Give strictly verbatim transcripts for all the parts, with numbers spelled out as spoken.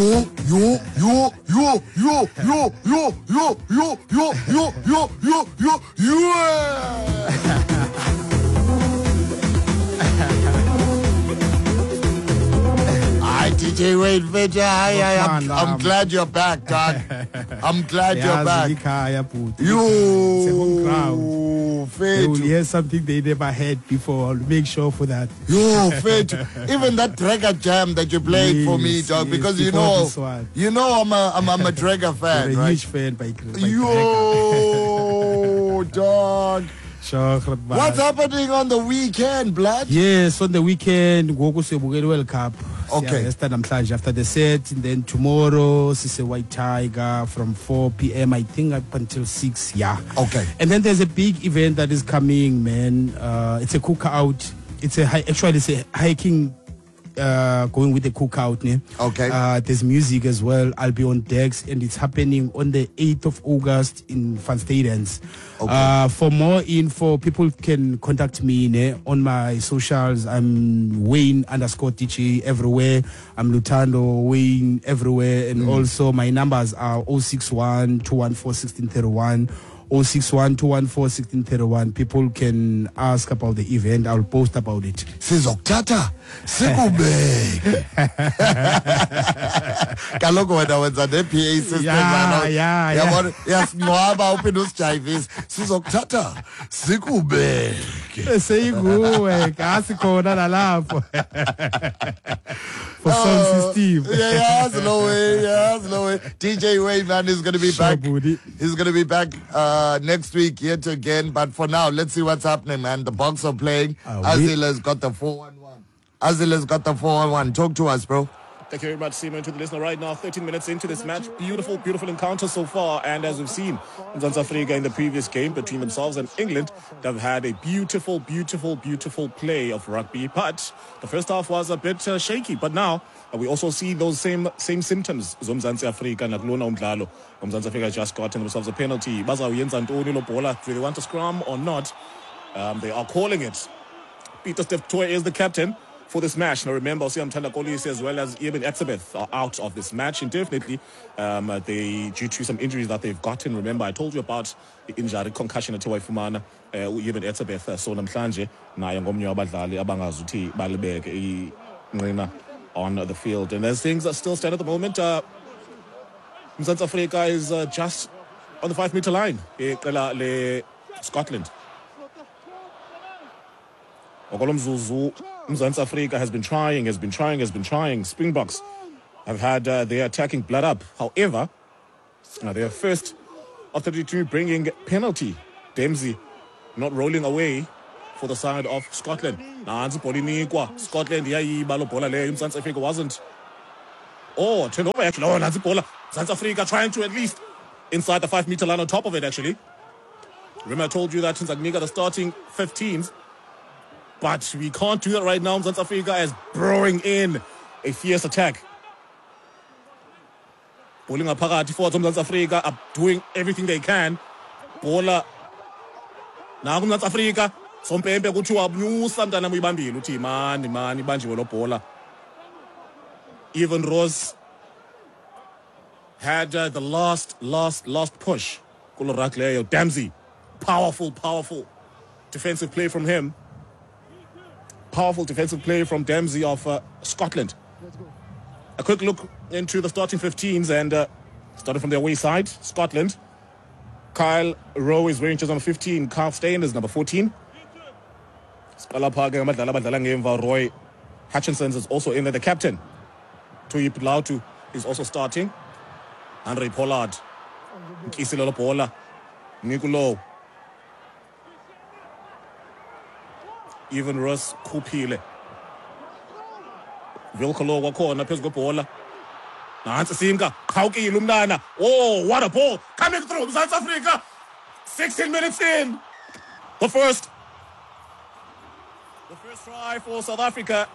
Yo, yo, yo, yo, yo, yo, yo, yo, yo, yo, yo, yo, yo, yo, yo. Hi, D J Wayne Major. Hi, hi, I'm, I'm glad you're back, dog. I'm glad you're back. You, they will hear something they never heard before. I'll make sure for that. Yo, Fethu. Even that Dragger jam that you played yes, for me, dog, yes, because you know, you know, I'm a, I'm, I'm a Dragger fan. You're a right? huge fan by, by Yo, dog. Sure, what's happening on the weekend, blood? Yes, on the weekend, ngoku siyobukela World Cup. Okay. After the set, and then tomorrow, Sise White Tiger from four p m, I think, up until six, yeah. Okay. And then there's a big event that is coming, man. Uh, it's a cookout. It's a actually it's a hiking. Uh, going with the cookout, ne? Okay. Uh, there's music as well. I'll be on decks, and it's happening on the eighth of August in Van Stadens. Okay. Uh, for more info, people can contact me, ne? On my socials. I'm Wayne underscore D J everywhere. I'm Luthando Wayne everywhere, and mm. also my numbers are oh six one, two one four, one six three one. oh six one, two one four, one six three one. People can ask about the event. I'll post about it. Sizokuthatha sikubeke. Kaloku wena wenza ne P A system. Yeah, yeah, yeah. Yasingcwaba uphinde usijayivise. Sizokuthatha sikubeke. Seyinguwe, kasi khona nalapho. For sound system. Yeah, yeah, slow way, yeah, slow way. D J Wayne, man, is going to be back. He's going to be back uh, Uh, next week yet again, but for now, let's see what's happening, man. The Boks are playing. Uh, Azila's got the four one one. Azila's got the four one one. Talk to us, bro. Thank you very much, Simon, to the listener right now. thirteen minutes into this match. Beautiful, beautiful encounter so far. And as we've seen, Mzansi Africa in the previous game between themselves and England, they've had a beautiful, beautiful, beautiful play of rugby. But the first half was a bit uh, shaky. But now uh, we also see those same same symptoms. Mzansi Africa nakulona umdlalo. Mzansi Africa just gotten themselves a penalty. Bazawuyenza ntoni lo bhola? Do they want to scrum or not? Um, they are calling it. Peter Steph Toy is the captain for this match. Now remember, Siyamthanda Kolisi as well as Eben Etzebeth are out of this match indefinitely. Um, they, due to some injuries that they've gotten. Remember, I told you about the injury, concussion athe wayifumana u-Eben Etzebeth. So namhlanje naye ngomnye wabadlali abangazuthi balibeke inqina on the field. And as things are still stand at the moment, uh, Mzansi Africa is uh, just on the five meter line. Iqela le Scotland. Okolomzuzu, Mzansi Africa has been trying, has been trying, has been trying. Springboks have had uh, their attacking blood up. However, uh, their first of thirty-two bringing penalty. Dempsey not rolling away for the side of Scotland. Nansi ibhola inikwa. Scotland iyayiba lo bhola leyo. Mzansi Africa wasn't. Oh, turned over actually. Oh, Nansi ibhola. Mzansi Africa trying to at least inside the five meter line on top of it actually. Remember I told you that Nzakunika the starting fifteens. But we can't do that right now. Mzansi Africa is brewing in a fierce attack. Bowling ngaphakathi forwards Mzansi Africa are doing everything they can. Bhola naku Mzansi Africa. Sompempe kuthiwa nyusa mntana uyibambile uthi mani mani ibanjiwe lo bhola. Even Rose had uh, the last last last push. Kulo ruck leyo. Dempsey, powerful powerful defensive play from him. Powerful defensive play from Dempsey of uh, Scotland. A quick look into the starting fifteens and uh, starting from their away side, Scotland. Kyle Rowe is wearing jersey number fifteen. Kyle Steyn is number fourteen. Roy Hutchinson is also in there, the captain. Tuyip Lautu is also starting. Andre Pollard. Nkisilo Bola. Nikulo. Even Ross Kupile. Wilkolo wakhona phezu kwebhola. Nansi simka qhawukile umntana. Oh, what a ball coming through South Africa. sixteen minutes in. The first The first try for South Africa.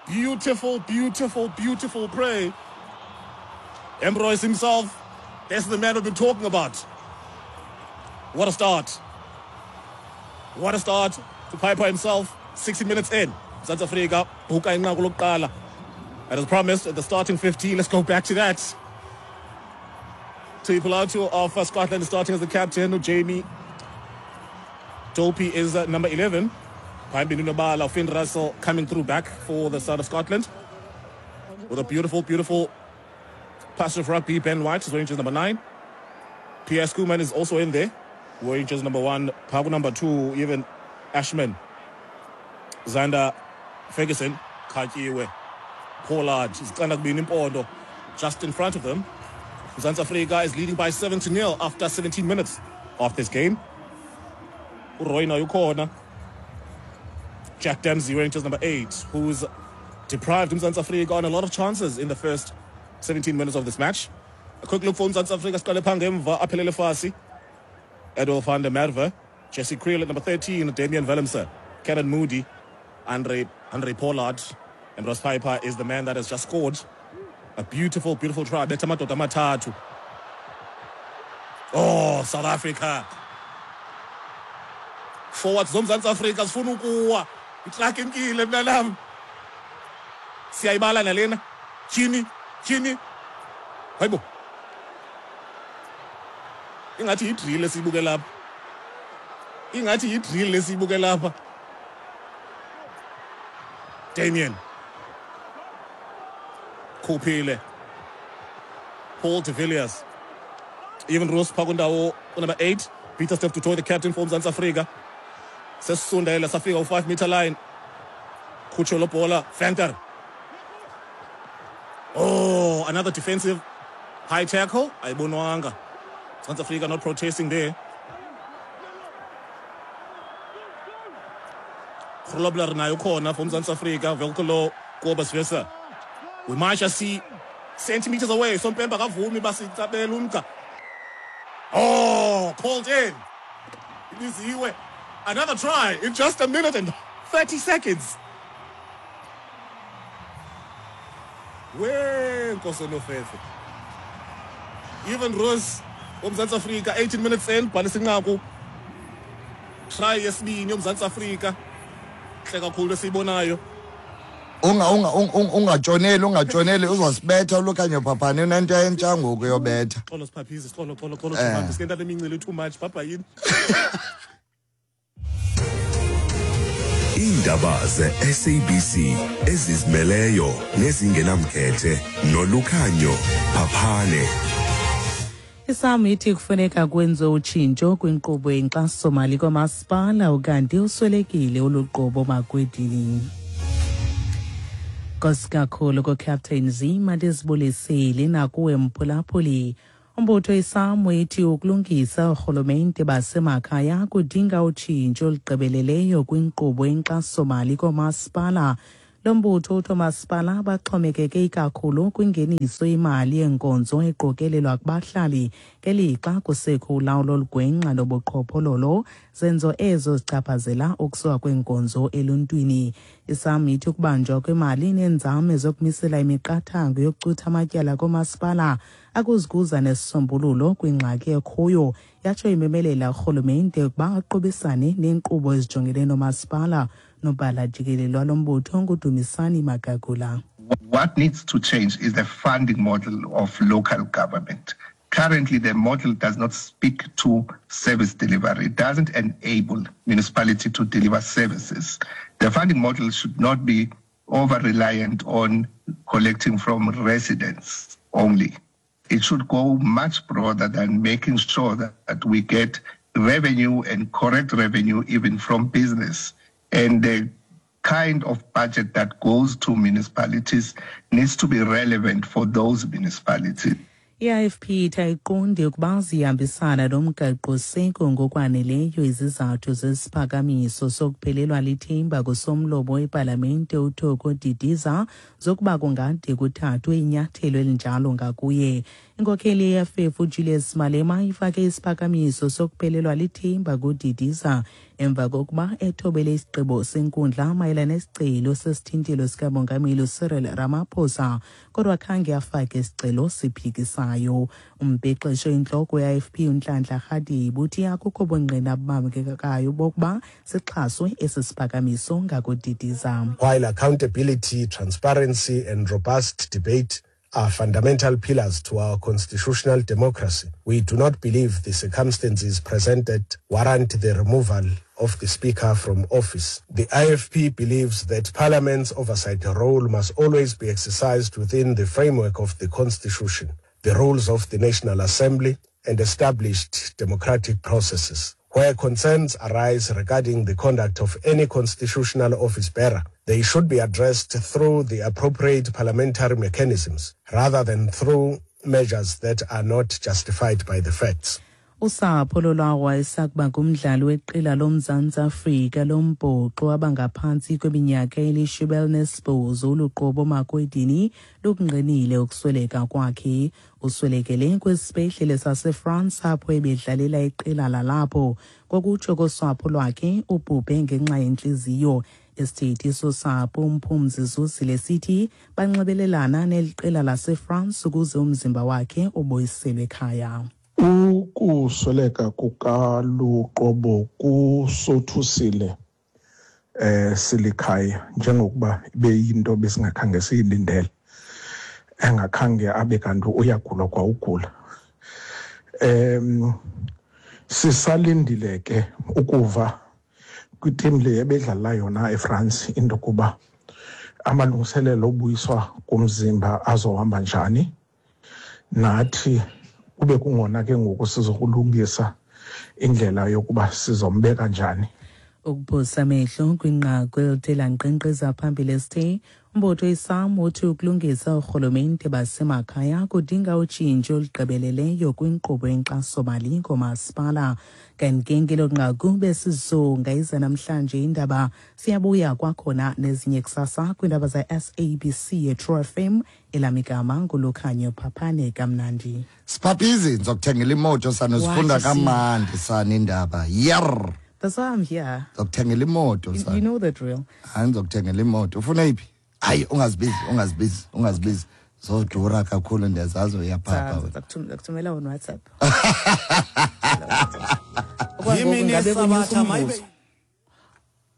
Beautiful, beautiful, beautiful play. Ambrose himself. That's the man we've been talking about. What a start. What a start to Piper himself. sixty minutes in. South Africa, buka inqaku lokuqala. And as promised, at the starting fifteen, let's go back to that. Tuipulotu of uh, Scotland is starting as the captain. Jamie Dopey is uh, number eleven. Phambili Finn Russell coming through back for the side of Scotland. With a beautiful, beautiful pass of rugby. Ben White is wearing jersey number nine. Pierre Schoeman is also in there, wearing jersey number one. Pagu number two, even Ashman. Zander Ferguson, Kakiwe, Pollard, Impondo, just in front of them. Mzansi Afrika is leading by seven to nil after seventeen minutes of this game. Uroy ukhona. Jack Dempsey wearing jersey number eight, who's deprived Mzansi Afrika on a lot of chances in the first seventeen minutes of this match. A quick look for Mzansi Afrika, siqale phaa ngemva, Aphelele Fassi, Edwill van der Merwe, Jesse Kriel at number thirteen, Damian Willemse, Canan Moodie, Andre, Andre Pollard, and Ross Piper is the man that has just scored a beautiful, beautiful try. Betha amadoda amathathu. Oh, South Africa. Forwards zoMzantsi Afrika zifuna ukuwa. Itraki imkile mntanam. Siyayibala nalena. Tyhini, tyhini. Hayibo. Ingathi yidrill esiyibuke lapha. Ingathi yidrill esiyibuke lapha. Damien. Kupile. Paul de Villiers. Even Roos phaa number eight. Pieter-Steph du Toit, the captain for Mzansi Afrika. Sesisondele safika u-five meter line. Khutshwe lo bhola. Venter. Oh, another defensive high tackle. Ayibonwanga. Mzansi Afrika not protesting there. Grobler nayo khona for Mzansi Afrika. Wilco Kobus Visser. We might just see centimeters away. Sompemba kavumi basitsabela umgca. Oh, called in. Ibiziwe. Another try in just a minute and thirty seconds. We Nkosi Nofefe. Even Roos woMzantsi Afrika eighteen minutes in, bhalisa inqaku. Try yesibini yoMzantsi Afrika. Hle kakhulu esiyibonayo. Unga unga ungatshoneli ungatshoneli uzosibetha uLukhanyo Phaphane unento entsha ngoku yobetha. Xolo siphaphise, xolo xolo xolo sibambe sikenta lemincili too much bhabha yini. Iindaba ze-S A B C ezizimeleyo nezingenamkhethe noLukhanyo Phaphane. ISAM ithi kufuneka kwenziwe utshintsho kwinkqubo yenkxasomali kwamasipala ukanti uswelekile oluqobo makwedini. Nkosi kakhulu ko-Captain Z mandizibulisile nakuwe mphulaphuli. Umbutho iSAM ithi ukulungisa oorhulumente basemakhaya kudinga utshintsho olugqibeleleyo kwinkqubo yenkxasomali koomasipala. Lo mbutho uthi oomasipala baxhomekeke ikakhulu kwingeniso yemali yenkonzo eqokelelwa kubahlali ngelixa kusekho ulawulo olugwenxa nobuqhophololo, zenzo ezo zichaphazela ukusuka kweenkonzo eluntwini. ISAM ithi ukubanjwa kwemali neenzame zokumisela imiqathango yokucutha amatyala koomasipala akuzikuza nesisombululo kwingxaki ekhoyo, yatsho imemelela urhulumente ukuba aqubisane neenkqubo ezijongene noomasipala. Nobhala jikelele walo mbutho nguDumisani Magagula. What needs to change is the funding model of local government. Currently, the model does not speak to service delivery. It doesn't enable municipality to deliver services. The funding model should not be over-reliant on collecting from residents only. It should go much broader than making sure that, that we get revenue and correct revenue even from business. And the kind of budget that goes to municipalities needs to be relevant for those municipalities. I-I F P ithi ayiqondi ukuba zihambisana nomgaqo-seko ngokwaneleyo izizathu zesiphakamiso sokuphelelwa lithemba kusomlomo wepalamente uThoko Didiza zokuba kungade kuthathwe inyathelo elinjalo ngakuye. Inkokheli ye-E F F uJulius Malema ifake isiphakamiso sokuphelelwa lithemba kuDidiza emva kokuba ethobele isigqibo senkundla mayelana nesicelo sesithintelo sikamongameli Cyril Ramaphosa, kodwa khange afake isicelo siphikisayo. Umbhexesho intloko ye-I F P uNhlanhla Radebe uthi akukho bungqina bubambekayo bokuba sixhaswe esi siphakamiso ngakudidiza. While accountability, transparency and robust debate are fundamental pillars to our constitutional democracy, we do not believe the circumstances presented warrant the removal of the Speaker from office. The I F P believes that Parliament's oversight role must always be exercised within the framework of the Constitution, the rules of the National Assembly, and established democratic processes. Where concerns arise regarding the conduct of any constitutional office bearer, they should be addressed through the appropriate parliamentary mechanisms rather than through measures that are not justified by the facts. Usapho lolwawa esakuba ngumdlali weqela loMzantsi Afrika lombhoxo abangaphantsi kweminyaka elishumi elinesibhozo uLuqobo Makwedini lukungqinile ukusweleka kwakhe. Uswelekele kwisibhedlele saseFrance apho ebedlalela iqela lalapho. Ngokutsho kosapho lwakhe ubhubhe ngenxa yentliziyo. Isithethi sosapho uMphumzi Zuzile sithi banxibelelana neli qela laseFrance ukuze umzimba wakhe ubuyiselwe ekhaya. Ukusweleka kukaLuqobo kusothusile eh silikhaya njengokuba beyinto besingakhange siyilindele, engakhange abe kanti uyagula kwa ugula. Em sisalindile ke ukuva kwiteam le ebedlala yona eFrance into kuba amalungiselelo obuyiswa komzimba azohamba njani, nathi kube kungona ke ngoku sizokulungisa indlela yokuba sizombeka njani. Ukuphosa amehlo kwinqaku elithe lanqenqeza phambili esithe umbutho iSAM uthi ukulungisa urhulumente basemakhaya kudinga utshintsho olugqibeleleyo kwinkqubo yenkxasomali koomasipala. Kanti ke ngelo nqaku besizonga iza namhlanje indaba, siyabuya kwakhona nezinye kusasa kwiindaba za-S A B C ye-True F M. Elamigama nguLukhanyo Phaphane kamnandi. Siphaphizi ndizokuthengela imoto sana, sifunda kamandi sana indaba. Yer. That's why I'm here. Ndizokuthengela imoto sana. You know the drill. Hayi, ndizokuthengela imoto. Ufuna iphi? Hayi, ungazibizi, ungazibizi, ungazibizi. Zodura kakhulu ndiyazazi uyaphapha. Ndakuthumela on WhatsApp.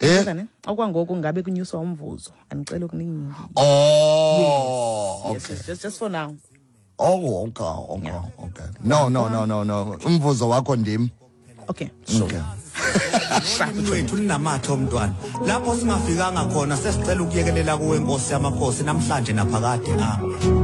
Eh? Okwangoku ngabe kunyuswa umvuzo. Andicela okuningi. Oh, yes, okay. Yes, just just for now. Oh, okay, okay, yeah. Okay. No, no, no, no, no. Umvuzo wakho ndim. Okay. Sure. Okay. Lwethu linamathe omntwana lapho singafikanga khona sesicela ukuyekelela kuwe Nkosi yamakhosi namhlanje naphakade. Amen.